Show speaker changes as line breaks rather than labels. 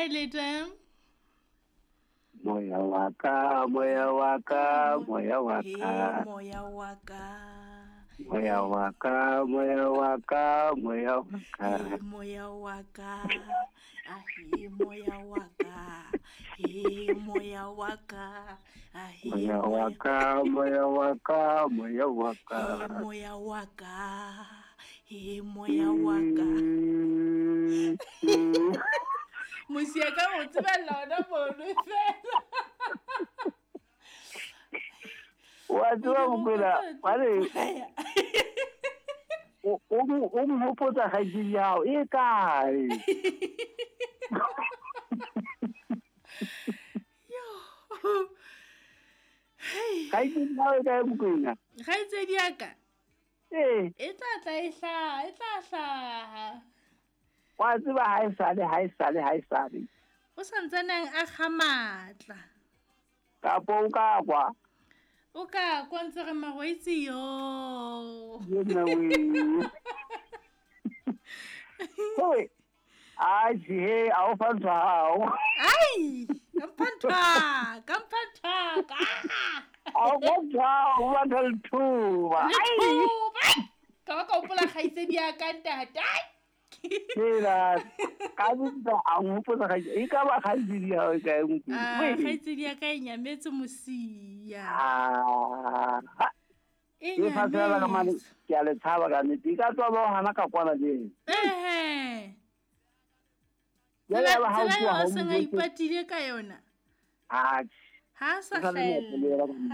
kae leta?
Moya wa ka, moya wa ka, moya wa ka.
Moya wa ka.
Moya wa ka, moya wa ka, moya wa ka.
Moya wa ka. Ahe moya wa ka. He moya wa ka. Ahe
moya wa ka, moya wa ka, moya wa ka.
Moya wa ka. He moya wa ka. Mosia ka go tseba lona mono fela.
Wa tseba Mokwena, bale o mhopotsa kgaitsedi ya hao e kae? Kgaitsedi ya hao e kae Mokwena?
Kgaitsedi ya ka?
Ee.
E tla tla e hlaha, e tla hlaha.
Wa tseba ha e sale, ha e sale, ha e sale.
O sa ntsaneng a kga matla.
Kapo o ka kwa?
O ka kwa ntse re magwaitse yo.
Ye nna we. Hoi. Ai, he, a o fa ntho hao.
Ai, ka mpha ntho, ka mpha ntho.
A o fa ntho, o ba ntho lethuba.
Lethuba. Ka ba ka hopola kgaitsedi ya ka ntate. Ai.
Hela, ka bitsa a nhopotsa kgaitsedi. E ka ba kgaitsedi ya hao e kae Mokwena?
Ah, kgaitsedi ya ka e nyametse mosia.
Ah.
E
E fa fela ka mane,
nyametse.
ke a le tshaba ka nnete. E ka tswa ba o hana ka kwana le ena.
Ehe.
Jwale
Tsela
ya ba ha o
tsela
tloha
eo
ha
a
o
seng a
mojwetse.
ipatile ka yona.
Atjhe.
Ha a sa
O sa le
hlahella.
nako le yena ka